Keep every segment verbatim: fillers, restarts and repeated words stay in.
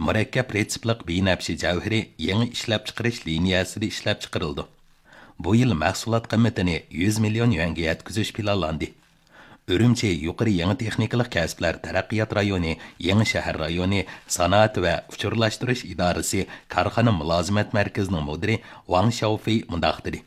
مۇرەككەپ رېتسېپلىق بىنەپشە جەۋھىرى يېڭى ئىشلەپچىقىرىش لىنىيەسىدە ئىشلەپچىقىرىلىدۇ. بۇ يىل مەھسۇلات قىممىتىنى يۈز مىليون يۈەنگە يەتكۈزۈش پىلانلاندى. ئۈرۈمچى يۇقىرى يېڭى تېخنىكىلىق كەسىپلەر تەرەققىيات رايونى، يېڭى شەھەر رايونى، سانائەت ۋە ئۇچۇرلاشتۇرۇش ئىدارىسى كارخانا مۇلازىمەت مەركىزىنىڭ مۇدىرى ۋاڭ شياۋفېي مۇنداق دېدى: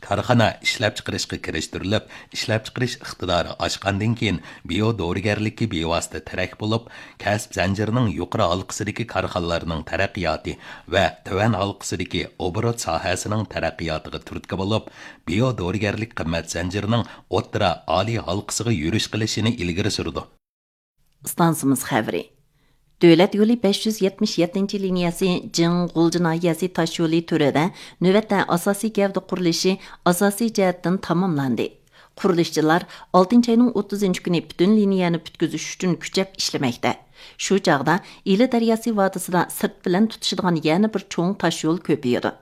كارخانا ئىشلەپچىقىرىشقا كىرىشتۈرۈلۈپ، ئىشلەپچىقىرىش ئىقتىدارى ئاشقاندىن كېيىن، بىيو دورىگەرلىككە بىۋاسىتە تىرەك بولۇپ، كەسىپ زەنجىرىنىڭ يۇقىرى ھالقىسىدىكى كارخانىلارنىڭ تەرەققىياتى ۋە تۆۋەن ھالقىسىدىكى ئوبوروت ساھەسىنىڭ تەرەققىياتىغا تۈرتكە بولۇپ، بىيو دورىگەرلىك قىممەت زەنجىرىنىڭ ئوتتۇرا، ئالىي ھالقىسىغا يۈرۈش قىلىشىنى ئىلگىرى سۈرىدۇ. ئىستانسىمىز خەۋىرى. دۆلەت يولى بەش يۈز يەتمىش يەتتىنچى لىنىيەسى جىڭ غۇلجا ناھىيەسى تاشيولى تۈرىدە نۆۋەتتە ئاساسىي گەۋدە قۇرۇلۇشى ئاساسىي جەھەتتىن تاماملاندى. قۇرۇلۇشچىلار ئالتىنچى ئاينىڭ ئوتتۇزىنچى كۈنى پۈتۈن لىنىيەنى پۈتكۈزۈش ئۈچۈن كۈچەپ ئىشلىمەكتە. شۇ چاغدا ئىلى دەرياسى ۋادىسىدا سىرت بىلەن تۇتىشىدىغان يەنە بىر چوڭ تاشيول كۆپىيىدۇ.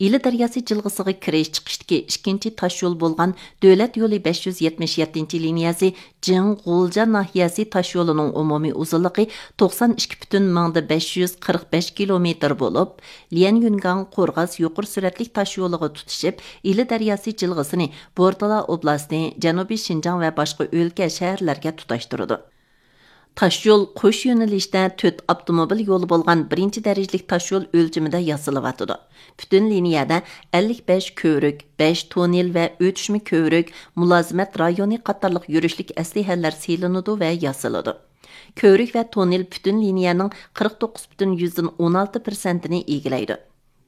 ئىلى دەرياسى جىلغىسىغا كىرىش چىقىشتىكى ئىككىنچى تاشيول بولغان دۆلەت يولى بەش يۈز يەتمىش يەتتىنچى لىنىيەسى جىڭ غۇلجا ناھىيەسى تاشيولىنىڭ ئومۇمىي ئۇزۇنلۇقى توقسان ئىككى پۈتۈن مىڭدا بەش يۈز قىرىق بەش كىلومېتىر بولۇپ، ليەنيۈنگاڭ قورغاس يۇقىرى سۈرئەتلىك تاشيولىغا تۇتىشىپ، ئىلى دەرياسى جىلغىسىنى بورتالا ئوبلاستى، جەنۇبىي شىنجاڭ ۋە باشقا ئۆلكە، شەھەرلەرگە تۇتاشتۇرىدۇ. تاشيول قوش يۆنىلىشتە تۆت ئاپتوموبىل يولى بولغان بىرىنچى دەرىجىلىك تاشيول ئۆلچىمىدە ياسىلىۋاتىدۇ. پۈتۈن لىنىيەدە ئەللىك بەش كۆۋرۈك، بەش توننېل ۋە ئۆتۈشمە كۆۋرۈك، مۇلازىمەت رايونى قاتارلىق يۈرۈشلۈك ئەسلىھەلەر سېلىنىدۇ ۋە ياسىلىدۇ. كۆۋرۈك ۋە توننېل پۈتۈن لىنىيەنىڭ قىرىق توققۇز پۈتۈن يۈزدىن ئون ئالتە پىرسەنتىنى ئىگىلەيدۇ.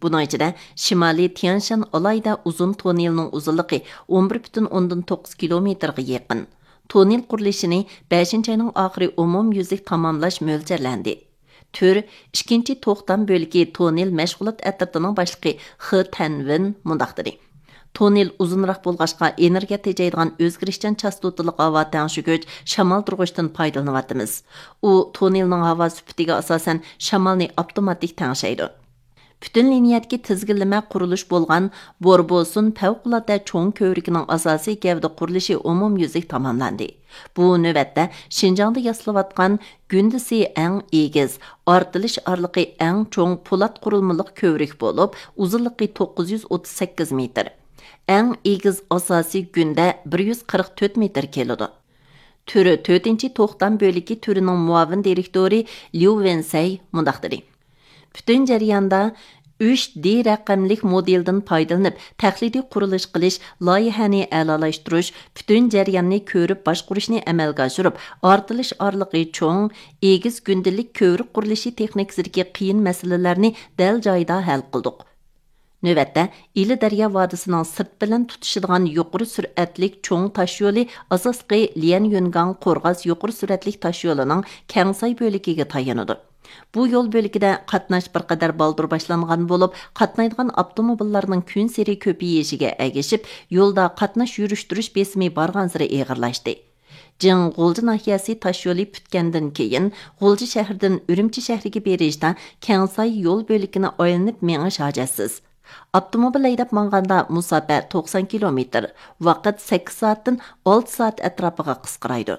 بۇنىڭ ئىچىدە شىمالىي تيەنشان ئالاھىدە ئۇزۇن توننېلىنىڭ ئۇزۇنلۇقى ئون بىر پۈتۈن ئوندىن توققۇز كىلومېتىرغا يېقىن. توننېل قۇرۇلۇشىنى بەشىنچى ئاينىڭ ئاخىرى ئومۇميۈزلۈك تاماملاش مۆلچەرلەندى. تۈر ئىككىنچى توختام بۆلىكى توننېل مەشغۇلات ئەترىتىنىڭ باشلىقى خې تەنۋېن مۇنداق دېدى: توننېل ئۇزۇنراق بولغاچقا، ئېنېرگىيە تېجەيدىغان ئۆزگىرىشچان چاستوتىلىق ھاۋا تەڭشىگۈچ شامالدۇرغۇچتىن پايدىلىنىۋاتىمىز. ئۇ توننېلنىڭ ھاۋا سۈپىتىگە ئاساسەن شامالنى ئاپتوماتىك تەڭشەيدۇ. پۈتۈن لىنىيەدىكى تىزگىنلىمە قۇرۇلۇش بولغان بوربوسۇن پەۋقۇلئاددە چوڭ كۆۋرۈكىنىڭ ئاساسىي گەۋدە قۇرۇلۇشى ئومۇميۈزلۈك تاماملاندى. بۇ نۆۋەتتە شىنجاڭدا ياسىلىۋاتقان گۈندىسى ئەڭ ئېگىز، ئارتىلىش ئارىلىقى ئەڭ چوڭ پولات قۇرۇلمىلىق كۆۋرۈك بولۇپ، ئۇزۇنلۇقى توققۇز يۈز ئوتتۇز سەككىز مېتىر. ئەڭ ئېگىز ئاساسىي گۈندە بىر يۈز قىرىق تۆت مېتىر كېلىدۇ. تۈرى تۆتىنچى توختام بۆلىكى تۈرىنىڭ مۇئاۋىن دىرېكتورى ليۇ ۋېنسەي مۇنداق دېدى: پۈتۈن جەرياندا ئۈچ دى رەقەملىك مودېلدىن پايدىلىنىپ، تەقلىدىي قۇرۇلۇش قىلىش، لايىھەنى ئەلالاشتۇرۇش، پۈتۈن جەرياننى كۆرۈپ باشقۇرۇشنى ئەمەلگە ئاشۇرۇپ، ئارتىلىش ئارىلىقى چوڭ، ئېگىز گۈندىلىك كۆۋرۈك قۇرۇلۇشى تېخنىكىسىدىكى قىيىن مەسىلىلەرنى دەل جايىدا ھەل قىلدۇق. نۆۋەتتە، ئىلى دەريا ۋادىسىنىڭ سىرت بىلەن تۇتىشىدىغان يۇقىرى سۈرئەتلىك چوڭ تاشيولى ئاساسلىقى ليەنيۈنگاڭ قورغاس يۇقىرى سۈرئەتلىك تاشيولىنىڭ كەڭساي بۆلىكىگە تايىنىدۇ. بۇ يول بۆلىكىدە قاتناش بىر قەدەر بالدۇر باشلانغان بولۇپ، قاتنايدىغان ئاپتوموبىللارنىڭ كۈنسېرى كۆپىيىشىگە ئەگىشىپ، يولدا قاتناش يۈرۈشتۈرۈش بېسىمى بارغانسېرى ئېغىرلاشتى. جىڭ غۇلجا ناھىيەسى تاشيولى پۈتكەندىن كېيىن، غۇلجا شەھىرىدىن ئۈرۈمچى شەھىرىگە بېرىشتا كەڭساي يول بۆلىكىنى ئايلىنىپ مېڭىش ھاجەتسىز. ئاپتوموبىل ھەيدەپ ماڭغاندا مۇساپە توقسان كىلومېتىر، ۋاقىت سەككىز سائەتتىن ئالتە سائەت ئەتراپىغا قىسقىرايدۇ.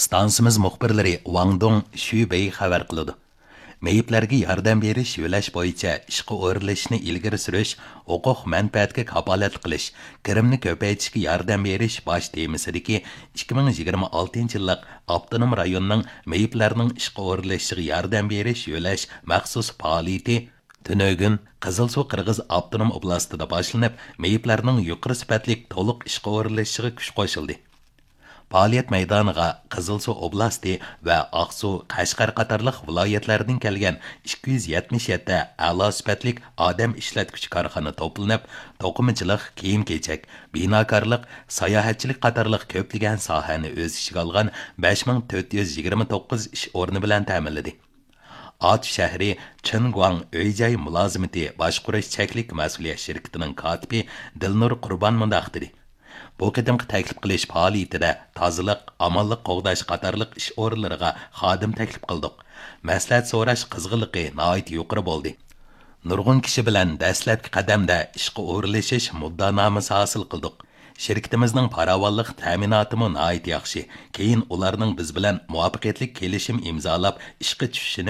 ئىستانسىمىز مۇخبىرلىرى ۋاڭ دۇڭ، شۈ بېي خەۋەر قىلىدۇ. مېيىپلەرگە ياردەم بېرىش يۆلەش بويىچە ئىشقا ئورۇنلىشىشنى ئىلگىرى سۈرۈش ھوقۇق مەنپەئەتكە كاپالەتلىك قىلىش، كىرىمنى كۆپەيتىشكە ياردەم بېرىش باش تېمىسىدىكى ئىككى مىڭ يىگىرمە ئالتىنچى يىللىق ئاپتونوم رايوننىڭ مېيىپلەرنىڭ ئىشقا ئورۇنلىشىشىغا ياردەم بېرىش يۆلەش مەخسۇس پائالىيىتى تۈنۈگۈن قىزىلسۇ قىرغىز ئاپتونوم ئوبلاستىدا باشلىنىپ، مېيىپلەرنىڭ يۇقىرى سۈپەتلىك تولۇق ئىشقا ئورۇنلىشىشىغا كۈچ قوشۇلدى. پائالىيەت مەيدانىغا قىزىلسۇ ئوبلاستى ۋە ئاقسۇ، قەشقەر قاتارلىق ۋىلايەتلەردىن كەلگەن ئىككى يۈز يەتمىش يەتتە ئەلا سۈپەتلىك ئادەم ئىشلەتكۈچى كارخانا توپلىنىپ، توقۇمىچىلىق، كىيىم-كېچەك، بىناكارلىق، ساياھەتچىلىك قاتارلىق كۆپلىگەن ساھەنى ئۆز ئىچىگە ئالغان بەش مىڭ تۆت يۈز يىگىرمە توققۇز ئىش ئورنى بىلەن تەمىنلىدى. ئاتۇش شەھىرى چېنگۇاڭ ئۆي-جاي مۇلازىمىتى باشقۇرۇش چەكلىك مەسئۇلىيەت شىركىتىنىڭ كاتىپى دىلنۇر قۇربان مۇنداق دېدى: بۇ قېتىمقى تەكلىپ قىلىش پائالىيىتىدە تازىلىق، ئامانلىق قوغداش قاتارلىق ئىش ئورۇنلىرىغا خادىم تەكلىپ قىلدۇق. مەسلىھەت سوراش قىزغىنلىقى ناھايىتى يۇقىرى بولدى. نۇرغۇن كىشى بىلەن دەسلەپكى قەدەمدە ئىشقا ئورۇنلىشىش مۇددىئانامىسى ھاسىل قىلدۇق. شىركىتىمىزنىڭ پاراۋانلىق تەمىناتىمۇ ناھايىتى ياخشى. كېيىن ئۇلارنىڭ بىز بىلەن مۇۋەپپەقىيەتلىك كېلىشىم ئىمزالاپ ئىشقا چۈشۈشىنى